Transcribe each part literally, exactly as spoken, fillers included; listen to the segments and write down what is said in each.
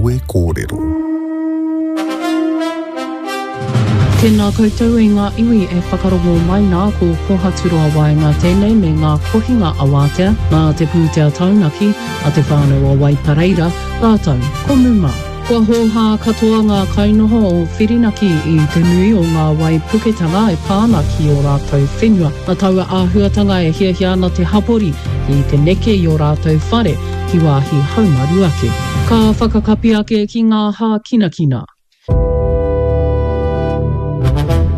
Kawe Kōrero. Tēnā koutou e ngā iwi e whakarongo mai nā, ko Kohaturoa Waenga tēnei me ngā kohinga awātea nā te pūtea taunaki a Te Whānau o Waipareira rātou ko Muma. Kua hōhā katoa ngā kainoho o Whirinaki i te nui o ngā waipuketanga e pā ana ki ō rātou whenua. Nā taua āhuatanga e hiahia ana te hapori ki te neke i ō rātou whare ki wāhi haumaru ake. Ka whakakapi ake ki ngā hākinakina.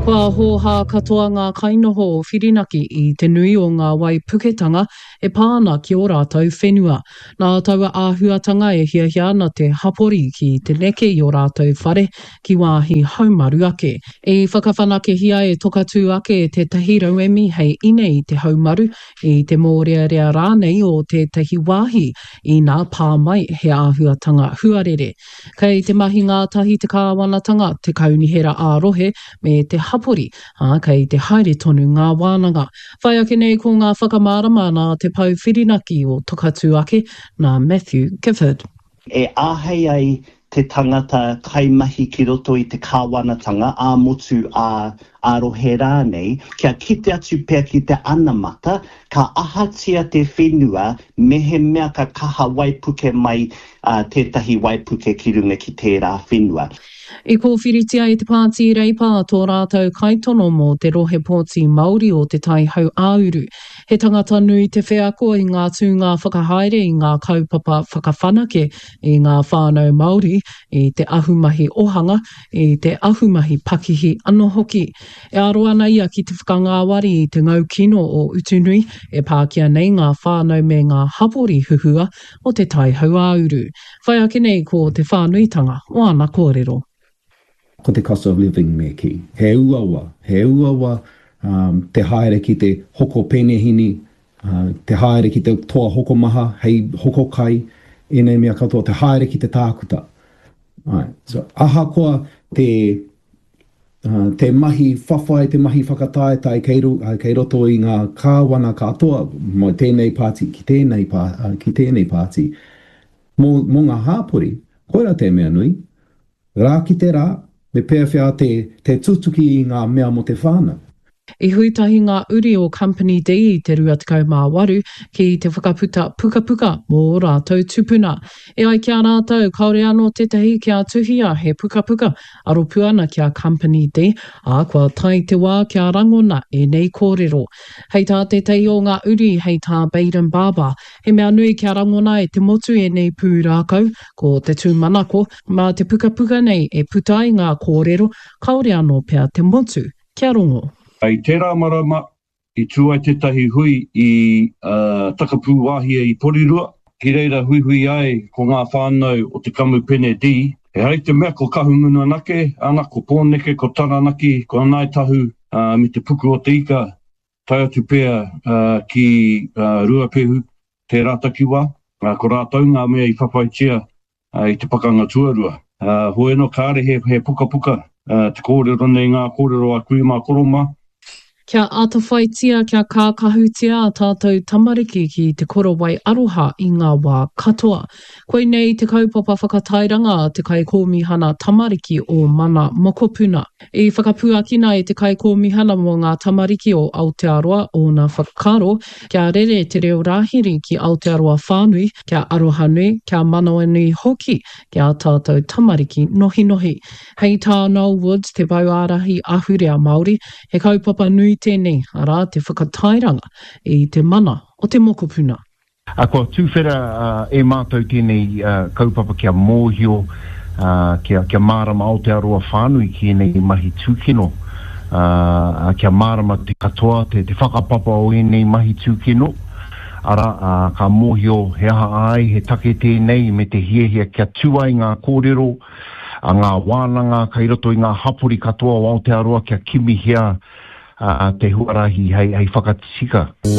Kua hōhā katoa ngā kainoho o Whirinaki i te nui o ngā waipuketanga e pā ana ki ō rātou whenua. Nā taua āhuatanga e hiahia ana te hapori ki te neke i ō rātou whare ki wāhi haumaru ake. I whakawhanakehia e Tokatū ake tētahi rauemi hei ine i te haumaru, i te mōrearea rānei o tētahi wāhi inā pā mai he āhuatanga huarere. Kei te mahi ngātahi te kāwanatanga, te kaunihera ā-rohe me te hapori, ā, kei te haere tonu ngā wānanga. Whai ake nei ko ngā whakamārama nā te pou whirinaki o Tokatū ake, nā Matthew Gifford. E āhei ai te tangata kaimahi ki roto i te kāwanatanga, ā-motu, ā, ā-rohe rānei, kia kite atu pea ki te anamata, ka ahatia te whenua mehemea ka kaha waipuke mai tētahi waipuke ki runga ki tērā whenua. I kōwhiritia e te Pāti Reipa tō rātou kaitono mō te rohe pōti Māori o Te Tai Hau-ā-uru. He tangata nui te wheako i ngā tūnga whakahaere i ngā kaupapa whakawhanake i ngā whānau Māori, i te ahumahi ohanga, i te ahumahi pakihi anō hoki. E aro ana ia ki te whakangāwari i te ngau kino o Utunui e pākia nei ngā whānau me ngā hapori huhua o Te Tai Hauāuru. Whai ake nei ko te whānuitanga o ana kōrero. Ko te cost of living me kī. He uaua, he uaua te haere ki te hoko penehini, te haere ki te toa hokomaha hei hoko kai, ēnei mea katoa, te haere ki te tākuta. Āe. So, ahakoa te, te mahi whawhai, te mahi whakataetae kei, kei roto i ngā kāwana katoa, mō tēnei pāti ki tēnei, ki tēnei pāti, mō, mō ngā hāpori, koirā te mea nui, rā ki te rā, me pēwhea te, te tutuki i ngā mea mō te whānau. I hui tahi ngā uri o Company D i te rua tekau mā waru ki te whakaputa pukapuka mō ō rātou tupuna. E ai ki a rātou, kāore anō tētahi kia tuhia he pukapuka aropū ana ki a Company D, ā, kua tae te wā kia rangona ēnei kōrero. Hei tā tētahi o ngā uri, hei tā Baden Barber, he mea nui kia rangona e te motu ēnei pūrākau, ko te tūmanako, mā te pukapuka nei e puta ai ngā kōrero kāore anō pea te motu kia rongo. I tērā marama, i tū ai tētahi hui i Takapūwāhia i Porirua, ki reira huihui ai ko ngā whānau o te Kamupene D. Ehara i te mea ko Kahungunu anake, ana, ko Pōneke, ko Taranaki, ko Ngāi Tahu me te Puku o te Ika, tae atu pea ki Ruapehu, tērā takiwā, ko rātou ngā mea i whawhaitia i te pakanga tuarua. Hoi anō, kāre he, he pukapuka te kōrero nei, ngā kōrero a kui mā koro mā. Kia atawhaitia, kia kākahutia ā tātou tamariki ki te korowai aroha i ngā wā katoa. Koinei te kaupapa whakatairanga a te Kaikōmihana Tamariki o Mana Mokopuna. I whakapuakina e te Kaikōmihana mō ngā Tamariki o Aotearoa ōna whakaaro kia rere te reo rāhiri ki Aotearoa whānui, kia arohanui, kia manawanui hoki ki ā tātou tamariki nohinohi. Hei tā Noel Woods, te pou ārahi ahurea Māori, he kaupapa nui tēnei, arā, te whakatairanga i te mana o te mokopuna. Ā, kua tuwhera e mātou tēnei kaupapa kia mōhio, kia, kia mārama Aotearoa whānui ki ēnei mahi tūkino, ā, kia mārama te katoa, te, te whakapapa o ēnei mahi tūkino, arā, ā, ka mōhio he aha ai, he take tēnei me te hiahia kia tū ai ngā kōrero, a ngā wānanga kai roto i ngā hapori katoa o Aotearoa kia kimihia te huarahi hei whakatika. Nā